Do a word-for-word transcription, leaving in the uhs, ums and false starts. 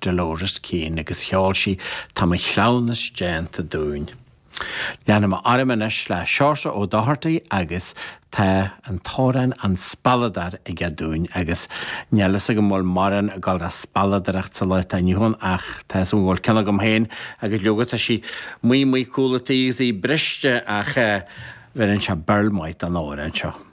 Dolores Keane agus cheol sí Tá mo chleamhnas déanta dúinn. Leanfaidh mé orm anois le Seoirse Ó Dochartaigh agus tá an t-amhrán An Spealadóir aige dúinn agus níl fhios agam bhfuil mórán ag dul le spealadóireacht sa lá atá inniu ann ach tá fhios agam go bhfuil ceann agam féin agus leoga tá sí maith maith cúl an tí agus í briste ach bheireann sé barr maith don amhrán seo.